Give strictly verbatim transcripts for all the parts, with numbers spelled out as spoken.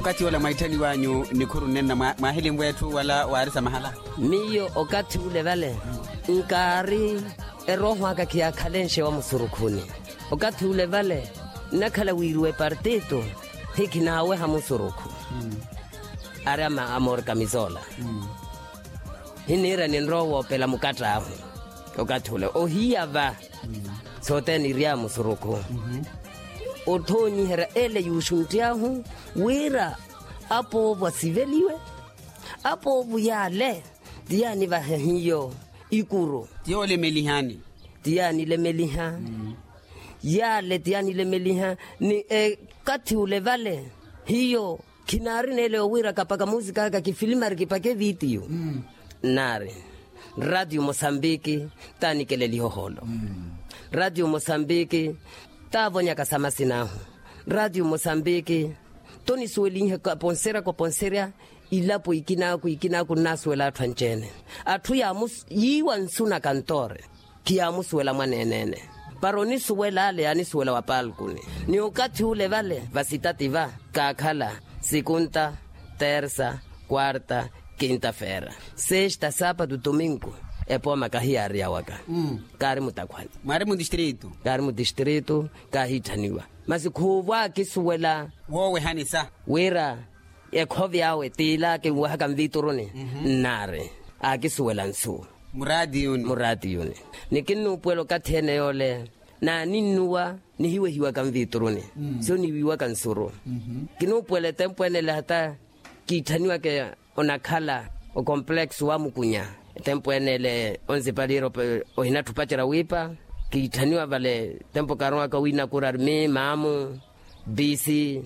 Okathi ola mwaitthaniwanyu nikhuru nnenna mwahilinwe etthu wala waarisamahala? Miyo okathi ule vale nkaari erooho aka khiyaakhalenxe wa musurukhuni. Okathi ule vale nnakhala wiiriwa epartito hikhinaaweha musurukhu. Ari ama amorkamisola hiniira ninrowa woopela mukatt'ahu. Okathi ule ohiya va sothene iry'ahu musurukhu. Othoonyiherya ele yuuxuntt'yahu wira apoovo asiveliwe. Apoovo yaale ti yaanivahe hiyo ikuru. Ti yoolemelihani. Ti yaanilemeliha. Yaale ti yaanilemeliha ni ekathi ule vale hiyo khinaari neele yowira kapaka musik'aka kifilimari kipake vitiyo. Nnaari ratio mosambiki taanikeleliha oholo. Ratio mosambiki taavonyaka sa masin'ahu. Ratio mosambiki tonisuwelinhe kaponserya kaponserya. Ilapo ikinaaku ikinaaku nnaasuwela atthu anci-ene. Atthu yiiwa nsu na kantoore khiyaamusuwela mwaneene-ene. Para onisuwela ale yaanisuwela wa palkuni. Ni okathi ule vale vasitati va kaakhala sikunta, tersa, kwarta, kinta-feera, sesta, saapatu, tuminku. Epooma kahiyaariyawaka. Kaari mutakhwani. Mwaari mutistritu. Kaari mutistritu. Kaahiitthaniwa masi khuuvo akisuwela woowehanisa wira ekhovi awe t'ila kinwehaka nvituruni. Nnaari akisuwela nsu muraatiyuni. Ni kinnuupuwela okathi ene yoole naaninnuwa nihiwehiwaka nvituruni. Siyo niwiiwaka nsuru. Kinnuupuwela etempu ene ele hata kiitthaniwaka onakhala okompleksu wamukunya. Etempu ene ele onsipaliira ohinatthi opacerya wiipa. Kiitthaniwa vale tempu kaaronwaka wiinakura armi maamu bisi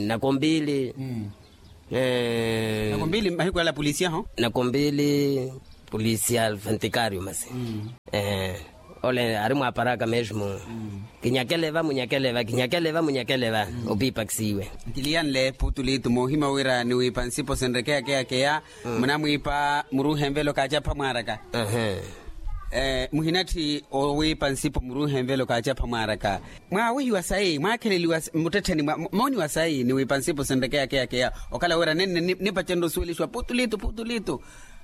nakombili. Nakombili mahiku ala polisiya ho. Nakombili polisiya alfantikario masi. Ole ari mwaaparaka mesmo. Kinyakele va munyakele va kinyakele va munyakele va. Opiipakisiwe. Nkiliyanle putulitu moohimya wira niwiipa nsipo sinrekeyakeyakeya. Munamwiipa muruuhe nvelo kaacapha mwaaraka. Muhinatthi owiipa nsipo muruuhe nvelo kaacapha mwaaraka. Mwaawehiwa sayi mwaakheleliwa muttettheni mooniwa sayi niwiipa nsipo sinrekeyakeyakeya. Okhala wira nenne nipacenre osuwelixiwa putulitu putulitu.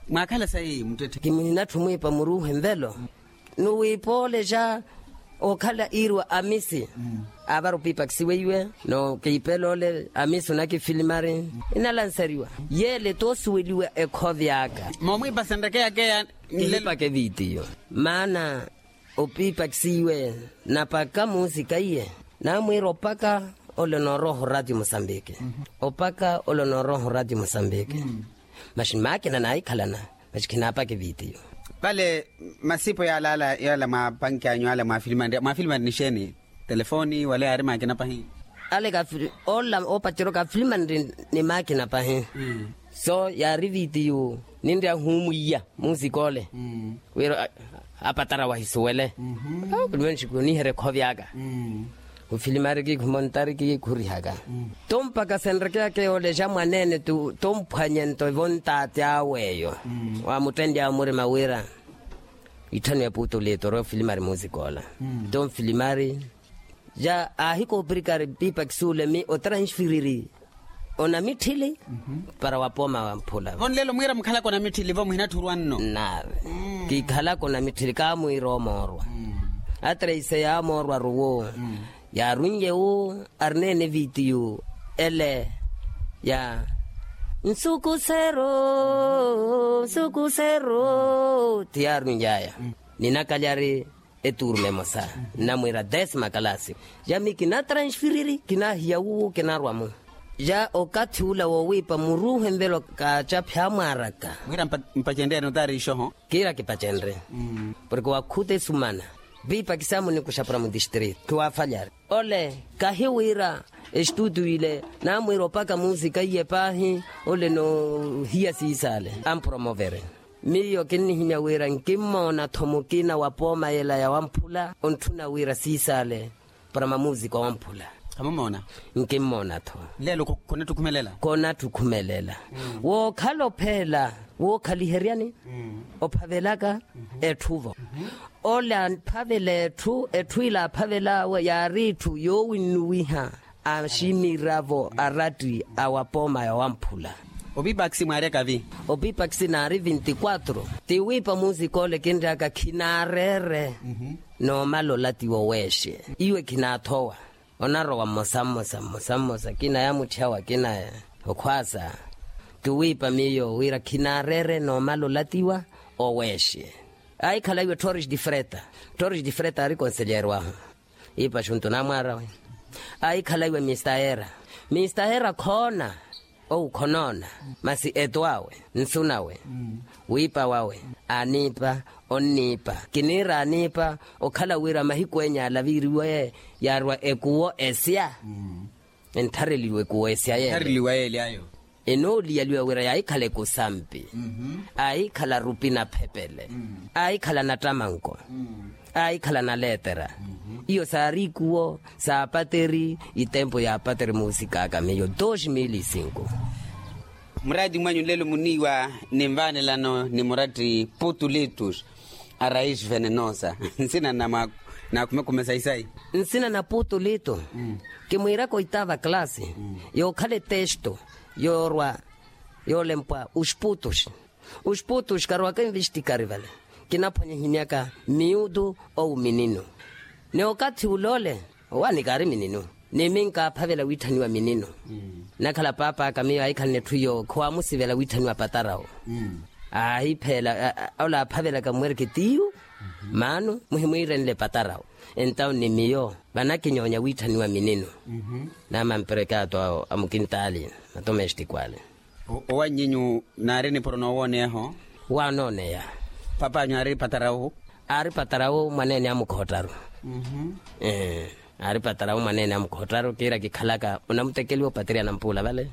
Mwaakhala sayi muttetthe. Kimuhinatthi omwiipa muruuhe nvelo. Nuwiipa ole ja okhala iiriwa amisi. Aavara opiipakisiweiwe no kiipela ole amisi onakifilimari inalansariwa. Yeele toosuweliwa ekhovi aka. Moomwiipa senrekeyakeya. Kihipaka evitiyo maana opiipakisiwe napaka muusika iye. Naamwiira opaka ole nooroha oratio mosambiki. Opaka ole nooroha oratio mosambiki. Maxi maakina naahikhalana. Maxi khinaapaka evitiyo. Vale masipo yaala ala mwapanki anyu ala mwaafilimanri mwaafilimanri nixeeni? Telefoni wala yaari maakina pahi. Ale ola oopacerya okaafilimanri ni maakina pahi. So yaari evitiyo ninrya huumwiya musik'ole wira apatara wahisuwele. Kuniherya ekhovi aka. Khufilimari kiikhumontari kiikhurihaka. Tto mpakha senrekeyakeya olexa mwaneene tto mphwanye nto evo ntaati awe eyo waamuttenly'awe murima wira itthaniwe puutu liitori ofilimari musik'ola. Tto mfilimari ja aahikoopirikari piipakisi ule mi otransfiriri onamitthili para wapooma wamphula. Vo nlelo mwiira mukhalaka onamitthili vo muhinatthurwa nno. Nnaari kiikhalaka onamitthili kaamwiira omoorwa. Atreise yaamoorwa ruwo yaarunye wu arineene evitiyu ele ya nsukusero nsukusero ti yaaruny'aya. Ninakalyari etuuruma emosa nnamwiira desima kalasi. Ja mi kinatransfiriri kinaahiya wuwo kinarwa-mo. Ja okathi ula woowiipa muruuhe nvelo kaacaphi amwaaraka. Mwiira mpacenrye notaari ixoho. Kiira kipacenrye porke wakhuta esumana. Piipakisi amunikuxa para mutistrito khiwaafalyari. Ole kahi wira estutu ile naamwiira opaka muusika iye paahi. Ole noohiya siisale ampromovere. Miyo kinnihimya wira nkimmoona-tho mukina wa pooma yela ya wamphula ontthuna wira siisale para mamuusika wa wamphula. Khamumoona? Nkimmoona-tho. Lelo khonatthukhumelela. Khonatthukhumelela. Wookhala opheela wookhaliheryani ophavelaka etthu-vo. Ole aphavela etthu etthu ile aphavel'awe yaari etthu yoowinnuwiha. aximiravo aratti a wapooma ya wamphula. Opipaksi mwaaryaka vi? Opipaksi naari vinti kwatro. Ti wiipa musik'ole kinry'aka khinaareere. Noomala olatiwa oweexe iwe khinaathowa. Onarowa mmosa mmosa mmosa mmosa kina yamutthyawa kina okhwaasa. Ti wiipa miyo wira khinaareere noomala olatiwa oweexe. Aahikhala iwe ttorish di freta. Ttorish di freta aari konselyeeryo ahu. Iipa xuntu namwaarawe. Aahikhala iwe mistahera. Mistahera khoona. Owu khonoona. Masi eto awe nsu nawe wiipa wawe aniipa onniipa. Kiniira aniipa okhala wira mahiku enya alaviiriwe yaarwa ekuwo esya. Entthareliwe ekuwo esya yeele. Enooliyaliwa wira yaahikhala ekusampi. Aahikhala rupi naphepele. Aahikhala nattamanko. Aahikhala naleetera. Iyo saari ikuwo saapateri itempu yaapateri muusik'aka miyo dos mil e cinco. Muraati mwanyu nlelo muniiwa ni nvaanelano ni muratti putulitus a rais venenosa. Nsina na mwa nakhumekhume sayi-sayi. Nsina na putulitu. Kimwiiraka oitaava kalasi yookhala etesto yoorwa yoolempwa oxiputuxi. Oxiputuxi karowaka envixtikari vale. Kinaphwanya ehimyaka miyutu owu mininu. Ni okathi ul'ole owaani kaari mininu. Ni minkaaphavela wiitthaniwa mininu. Nakhala paap'aka miyo aahikhalana etthu iyo khowaamusivela wiitthaniwa patarawo. Aahipheela ola aaphavelaka mwereke tiyu maano muhimwiirenle patarawo. Entawu ni miyo vanakinyoonya wiitthaniwa mininu. Naamampereke ato awo a mukintaali matomestiku ale. Owann'inyu naari nipuro noowooneyaho? Waanooneya. Pap'anyu aari patarawu? Aari patarawu mwaneene a mukhoottaru. Aari patarawu mwaneene a mukhoottaru kiira kikhalaka onamutekeliwa opateriya nampuula vale.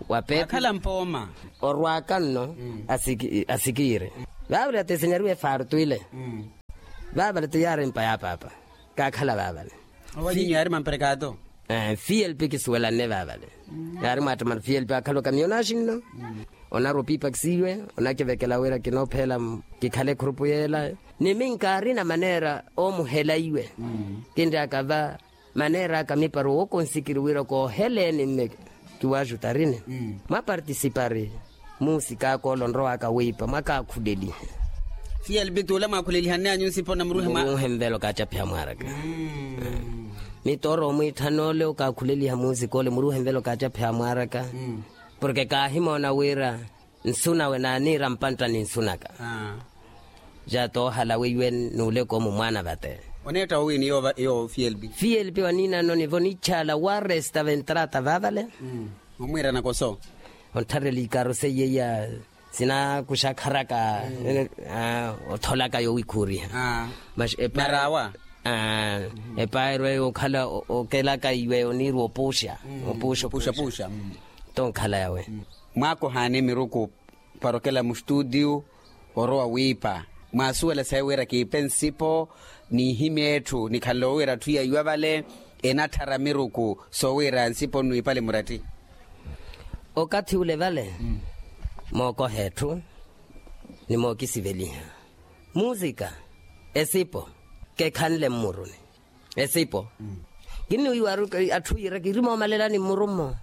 Wapeepi akhala mpooma. Orwaka nno asikiiri vaavale atesenyariwe efartu ile. Vaavale ti yaari mpa ya paapa. Kaakhala vaavale. Owanyinyu yaari mamperekato. Fielpi kisuwelanne vaavale. Yaari mwaattamana fielpi aakhala okamiyo onaaxinno. Onarwa opiipakisiwe onakivekela wira kinoophela kikhale ekhurupu yeela. Ni minkaarina maneera oomuhela iwe kinry'aka va maneer'aka miparu wookonsikiri wira kooheleeni mme kiwaaxutarini. Mwapartisipari muusik'aka ole onrowaka wiipa mwakaakhulelihe. Fielpi t'ule mwaakhulelihanne anyu nsipo na muruuhe mwa muruuhe nvelo kaacaphiha mwaaraka. Mitoro omwiitthana ole okaakhuleliha muusik'ole muruuhe nvelo kaacaphiha mwaaraka. Porke kaahimoona wira nsu nawe naaniira mpantta ni nsu naka. Ja toohala weiwe n'uleko mumwaana vate. Oneetta owiini yoowo fielpi fielpi waniinano nivo nichaala waresta ventrata vaavale. Omwiira nakoso onttharela ikaro seiye iya sinakuxakharaka otholaka yowikhuuriha. Masi epa narawa epaerwe okhala okelaka iwe oniirwa opuuxa opuuxa opuuxa. Tonkhala yawe. Mwaakohaani miruku para okela mustutiyu orowa wiipa mwaasuwela sayi wira kiipe nsipo n'ihimya etthu nikhanle owiira atthu yaiwa vale enatthara miruku soowiira nsipo nwiipale muratti. Okathi ule vale mookoha etthu ni mookisiveliha muusika esipo kekhanle mmuruni. Esipo kinniwiiwa atthu yiira kiri moomalelani mmuru mmo.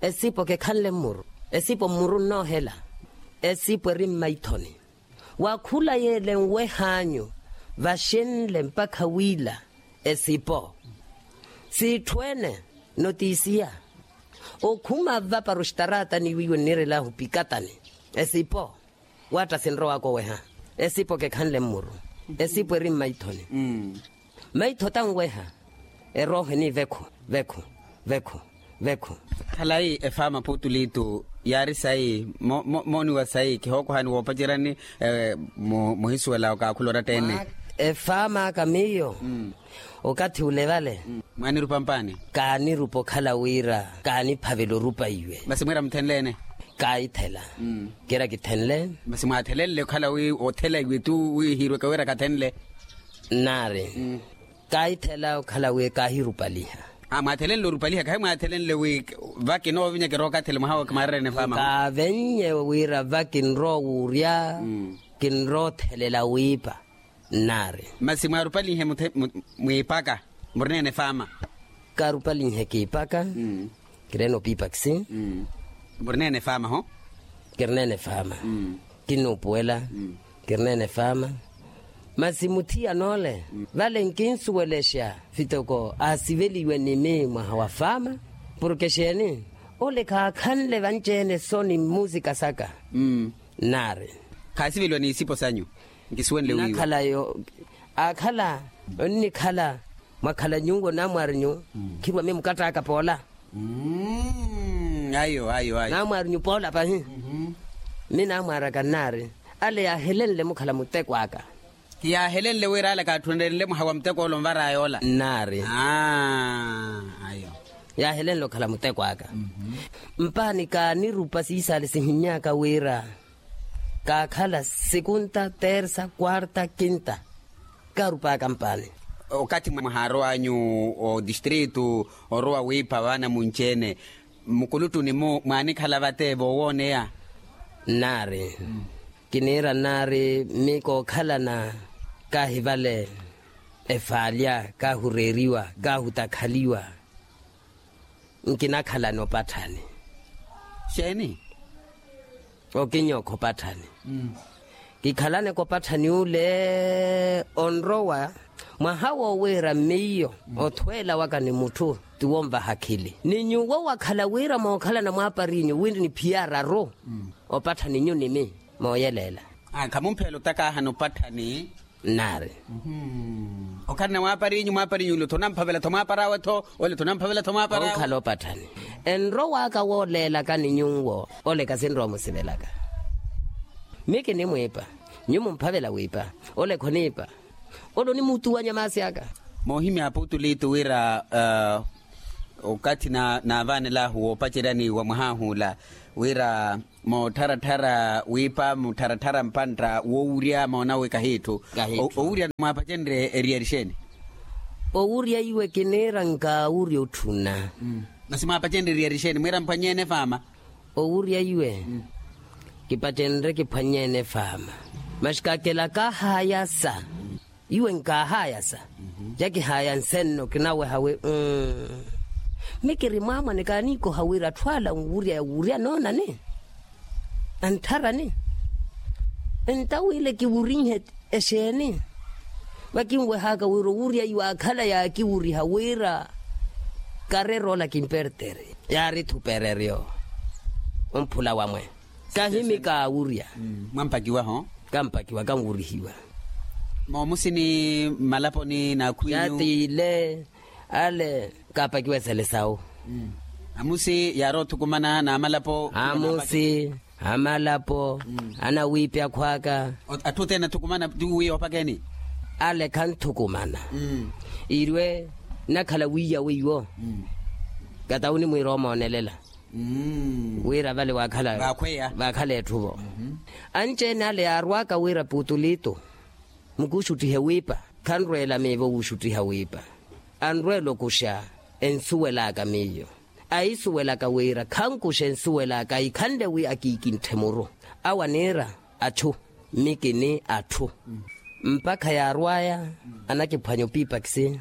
Esipo kekhanle mmuru esipo mmuru nnoohela. Esipo eri mmaithoni wakhula yeele nwehaanyu vaxenle mpakha wiila esipo siitthu-ene notisiya okhuma vapara oxitaraatani wiiwe nniirel'ahu pikatani. Esipo waatta sinrowaka oweha esipo kekhanle mmuru esipo eri mmaithoni. Maitho tanweha eroohe ni vekhu vekhu vekhu vekhu. Khalayi efaama putulitu yaari sayi mooniwa sayi kihookohani woopaceryani muhisuwela okaakhula oratta-ene. Efaam'aka miyo okathi ule vale mwaanirupa mpaani. Kaanirupa okhala wira kaaniphavela orupa iwe. Masi mwiira muthenle-ene? Kaahithela. Kiira kithenle. Masi mwaathelenle okhala wi othela iwe tu wiihiirweke wira kathenle? Nnaari kaahithela okhala wi kaahirupaliha. Mwaathelenle orupaliha kahi mwaathelenle wi vakinoovinya kirookathele mwaha wookimaarerene faama kaavennye wira vakinroowuurya kinroothelela wiipa. Nnaari. Masi mwaarupalihe mwiipaka murineene faama? Kaarupalinhe kiipaka. Kireene opiipakisi. Murineene faama ho? Kirineene faama. Kinnuupuwela. Kirineene faama. Masi muthiyana ole vale nkinsuwelexa fitoko aasiveliwe ni mii mwaha wa faama. Porke xeeni? Ole khaakhanle vanci-ene so ni mmusika saka. Nnaari. Khaasiveliwa ni isipo sanyu? Nkisuwenle wiiwa. Nnakhala yo aakhala onnikhala mwakhala nyuwo namwaarinyu. Khirwa mii mukattaaka poola. Ayo ayo ayo. Namwaarinyu poola pahi. Mii namwaaraka nnaari. Ale yaahelenle mukhala muteko aka. Ti yaahelenle wira ale kaatthunelenle mwaha wa muteko ole onvaraya ola. Nnaari. Ayo. Yaahelenle okhala muteko aka. Mpaani kaanirupa siisaale sihinnyaka wira kaakhala sekunta tersa kuarta kinta. Kaarupaka mpaani. Okathi mwahaarow'anyu otistritu orowa wiipha vaana munci-ene, mukuluttuni-mu mwaanikhala vate voowooneya? Nnaari. Kiniira nnaari mii kookhalana kaahi vale efaalya kaahureeriwa kaahutakhaliwa. Nkinakhalani opatthani. Xeeni? Okinyookha opatthani. Kikhalaneke opatthani ule onrowa mwaha woowiira miyo othweela waka ni mutthu ti wonvaha akhili ni nyuwo wakhala wira mookhalana mwaapariinyu wira ni phiya araru. Opatthani nyu ni mii mooyeleela. Khamumpheela otakaahana opatthani. Nnaari. Okhalana mwaapariinyu mwaapariinyu ole otho onamphavela-tho mwaapar'awe-tho. Ole otho onamphavela-tho mwaapar'awe. Onkhala opatthani. Enrow'aka wooleelaka ni nyuwo ole kasinrowa omusivelaka. Mii kinimwiipa. Nyu mumphavela wiipa. Ole khoniipa. Ole onimutuwanya maasi aka. Moohimya aputulitu wira okathi naavanelahu woopaceryani wa mwah'ahu ola wira moottharatthar'a wiipa muttharatthara mpantta woowurya moona wi kahiitthu. Owurya mwaapacenrye eriyari xeeni? Owurya iwe kiniira nkaawurya otthuna. Masi mwaapacenrye eriyari xeeni mwiira mphwany'ene faama? Owurya iwe kipacenrye kiphwany'ene faama. Masi kakela kahaayasa. Iwe nkahaayasa. Jakihaaya nsenno kinaweha wi mii kiri mwaamwane kaaniikoha wira atthu ala nwurya yawurya noonani anttharani. Entawiile kiwurinhe exeeni? Vakinweh'aka wira owurya iwe akhala yaakiwuriha wira karer'ola kimpertere. Yaari-tho pereryo omphula wamwe. Kahimi kaawurya. Mwampakiwa-ho? Kampakiwa kanwurihiwa. Moomusi ni mmalaponi n'akhwinyu? Yattiile ale kaapakiwa esele sawu. Amusi yaari othukumana n'amalapo? Amusi, amalapo, anawiipi akhw'aka. Atthu othene athukumana ti wi oopakeni? Ale khanthukumana. Irwe nnakhala wiiya weiwo. Kata onimwiira omoonelela wira vale waakhala etthu-vo. Anci-ene ale yaarw'aka wira putulitu mukuxuttihe wiipa. Khanrweela miivo wuxuttiha wiipa. Anrweela okuxa ensuwel'aka miyo. Ahisuwel'aka wira khankuxa ensuwel'aka ahikhanle wi akiikintthe muru. Awo aniira achu. Mii kini atthu. Mpakha yaarw'aya anakiphwanya opiipakisi.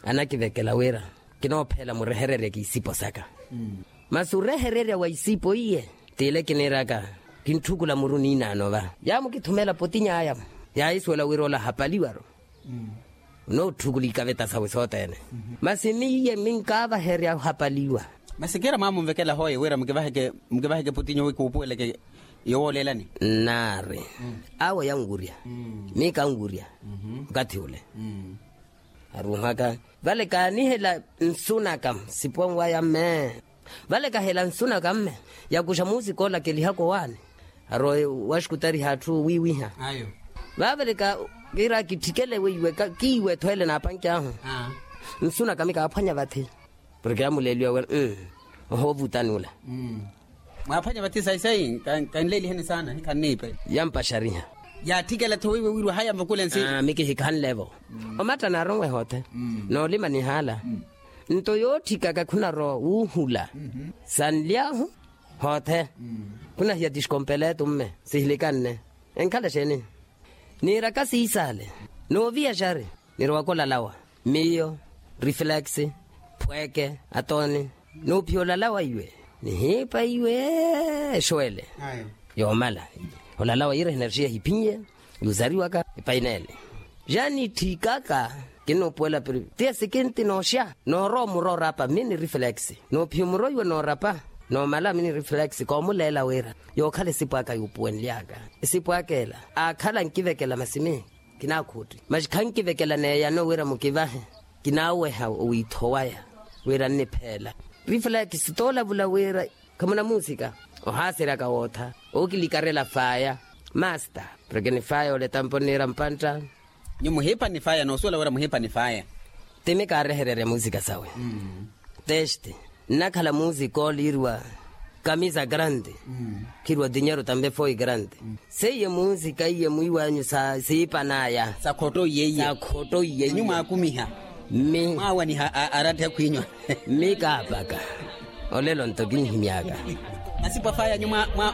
Anakivekela wira kinoopheela murehererye kiisipo saka. Masi orehererya wa isipo iye t'ile kiniiraka kintthukula muru niinaano va yaamukithumela potiny'aya. Yaahisuwela wira ola ahapaliwa-ru. Onootthukula ikaveta sawe sothene. Masi miiye minkaavaherya ohapaliwa. Masi kiira mwaamunvekela hooye wira mukivaheke potinyu wi kuupuweleke yowooleelani. Nnaari awo yanwurya. Mii kanwurya okathi ule. Aruuhaka vale kaanihela nsu naka siponwaya mme. Vale kahela nsu naka mme yakuxa muusika ola kelihaka owaani. Arowe waxikutariha atthu wiiwiha. Vaavale ka kiira kitthikele weiwe kiiwe-tho ele naapanki ahu. Nsu naka mii kaaphwanya vathi. Porke yamuleeliwa wira ohoovutani ula. Mwaaphwanya vathi sayi sayi. Kanleeliheni saana hikhanniipe. Yampaxariha. Yaatthikela-tho weiwe wirwa haya mvukule nsi. Mii kihikhanle-vo. Omatta naaronwe hoothe. Noolima nihaala. Nto yootthikaka khunarowa wuuhula. Sanly'ahu hoothe. Khunahiya tiskompeletu mme sihilikanne. Enkhala exeeni? Niiraka siisaale. Nooviya xari. Nirowaka olalawa miyo, reflex, phweeke atooni. Nuuphiya olalawa iwe nihiipa iwe exwele yoomala. Olalawa iira hinarixiya hiphinye yuusariwaka epaineele. Jaani itthikaka kinnuupuwela piri tiya sikinti nooxa noorowa omuro orapa mini reflex. Nuuphiya omuro iwe noorapa noomala mini reflex koomuleela wira yookhala esipu aka yuupuwenly'aka. Esipu aka ela aakhala ankivekela masi mihi kinaakhutti masi khankivekela neeyano wira mukivahe. Kinaaweha owiitho waya wira nnipheela. Rifulakisi toolavula wira khamuna muusika ohaaseryaka wootha ookilikarela faaya masta porke ni faaya oletampo nniira mpantta. Nyuwo muhiipa ni faaya noosuwela wira muhiipa ni faaya. Timi kaarehererya muusika sawe teste nnakhala muusika oliiriwa kamisa grande khiriwa dinheiro tambe foi grande. Seiye muusika iye mwiiwanyu siipan'aya sakhotto iye iye sakhotto iye iye nyuwo mwaakumiha mmi mwaawaniha aratthe khwiinywa mmi kaapaka olelo nto kinhimy'aka. Masipu afaaya nyuwo mwa